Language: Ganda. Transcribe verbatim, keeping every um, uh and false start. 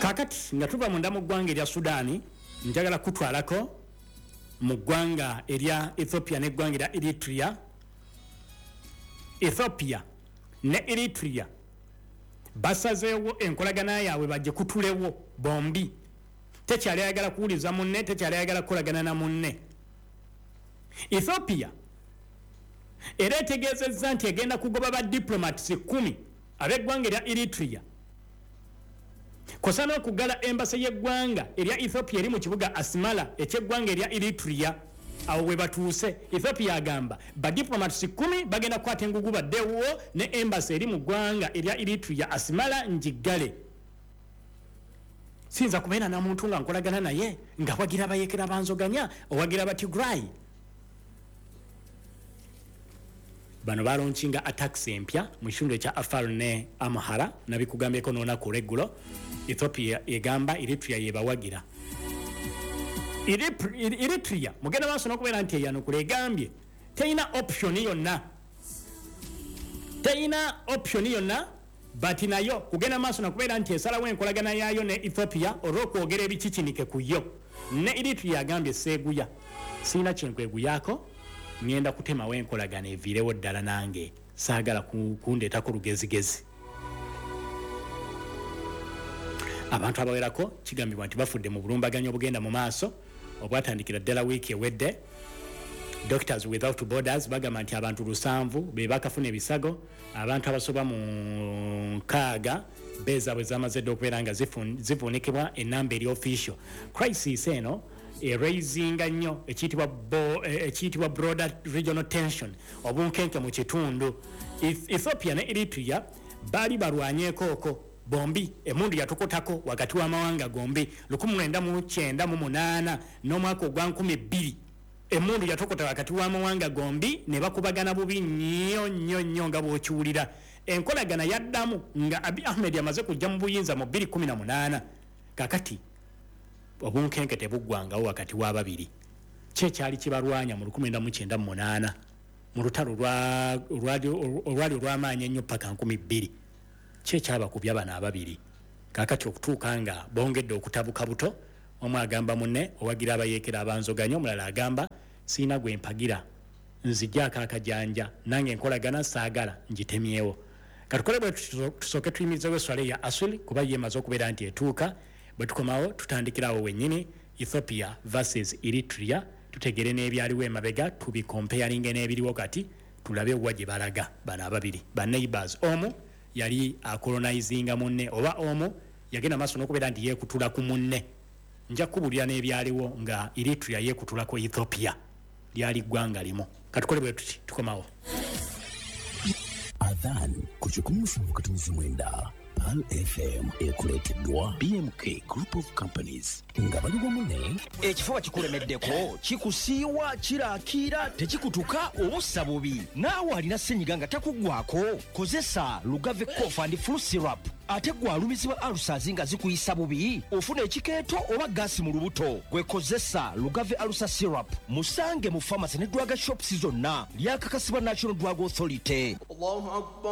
Kakati nga tuva munda mu ggwanga erya Sudaani, njagala kutwalako mu ggwanga erya Ethiopia n'eggwanga erya Eritrea. Ethiopia ne Eritrea basazeewo enkolagana yaabwe bajje kutulewo bombi. Tekyali ayagala kuwuliza munne, tekyali ayagala kukolagana na munne. Ethiopia era etegeezezza nti egenda kugoba ba diplomats kumi ab'eggwanga erya Eritrea, kosa n'okuggala embassy y'eggwanga erya Ethiopia eri mu kibuga Asmara eky'eggwanga erya Eritrea. Awo we batuuse. Ethiopia agamba ba diplomats kumi bagenda kukwata engugu baddewo, ne embassy eri mu ggwanga erya Eritrea Asmara ngiggale. Siyinza kubeera na muntu nga nkolagana naye nga wagira abayekera banzoganya, owagira Abatigray. Bano balaunchinga attacks empya mu kitundu ekya Afar ne Amhara, nabikugambyeko n'olunaku olw'eggulo. Ethiopia egamba Eritrea yebawagira. Eritrea mugenda maaso n'okubeera nti eyanukula, egambye teyina option yonna, teyina option yonna, but nayo kugenda maaso nakubeera nti esalawo enkolagana yaayo ne Ethiopia olw'okwogera ebikikinike ku yo. Ne Eritrea agambye seeguya, sirina kyenkweguyaako, ngenda kutemawo enkolagana eviirewo ddala, nange saagala kundeetako lugezigezi. Abantu abawerako kigambibwa nti bafudde mu bulumbaganyi obugenda mu maaso obwatandikira ddala wiiki ewedde. Doctors Without Borders bagamba nti abantu lusanvu be bakafuna ebisago, abantu abasoba mu nkaaga beezaabwe zamaze dda okubeera nga zivuunikibwa, enamba eri official. Crisis eno eraisinga nnyo ekiyitibwa broader regional tension, obunkenke mu kitundu. Ethiopia ne Eritrea baali balwanyeeko bombi, emundu yatukotako wakati w'amawanga gombi lukumi lwenda mu kyenda mu munaana n'omwaka ogwa nkumi bbiri. Emundu yatokota wakati w'amawanga gombi ne bakubagana bubi nnyo nnyo nnyo nga bw'okiwulira. Enkolagana yaddamu nga Abiy Ahmed yamaze kujja mu buyinza mu bbiri kumi na munaana. Kakati obunkenke tebuggwangawo wakati w'ababiri. Ki ekyali kibalwanya mu lukumi lwenda mu kyenda mu munaana mu lutalo olwali olw'amaanyi ennyo paka nkumi bbiri? Ki ekyabakubya bano ababiri? Kakati okutuuka nga bongedde okutabuka buto, omu agamba munne owagira abayeekera abanzoganya, omulala agamba sirina gwe mpagira, nzijjaako akajanja, nange enkolagana saagala ngitemyewo. Katukole bwe tusooke tuyimirizewo esswala ya Asuli kuba ye emaze okubeera nti etuuka. Bwe tukomawo tutandikirawo wennyini Ethiopia versus Eritrea, tutegere n'ebyaliwo emabega, tubikompeyaringe n'ebiriwo kati, tulabe wa gye balaga bano ababiri ba neighbors. Omu yali akolonizinga munne, oba omu yagenda maaso n'okubeera nti yeekutula ku munne. Nja kubuulira n'ebyaliwo nga Eritrea yeekutulako Ethiopia, lyali ggwanga limu. Katukole bwe tuti tukomawo. Adhan ku kikumi musanvu katunzi mwenda Pearl F M ekuleeteddwa B M K Group of Companies nga bali wamu ne ekifuba kikulemeddeko, kikusiiwa, kirakiira, tekikutuka obussa bubi. Naawe alina ssenyiga nga takuggwako, kozesa Lugave Cough and Flu Syrup. Ate gwe alumizibwa ulcers nga zikuyisa bubi, ofuna ekikeeto oba gaasi mu lubuto, gwe kozesa Lugave Ulcer Syrup. Musange mu pharmacy ne drug shops zonna, lyakakasibwa National Drug Authority. Allahu Akbar.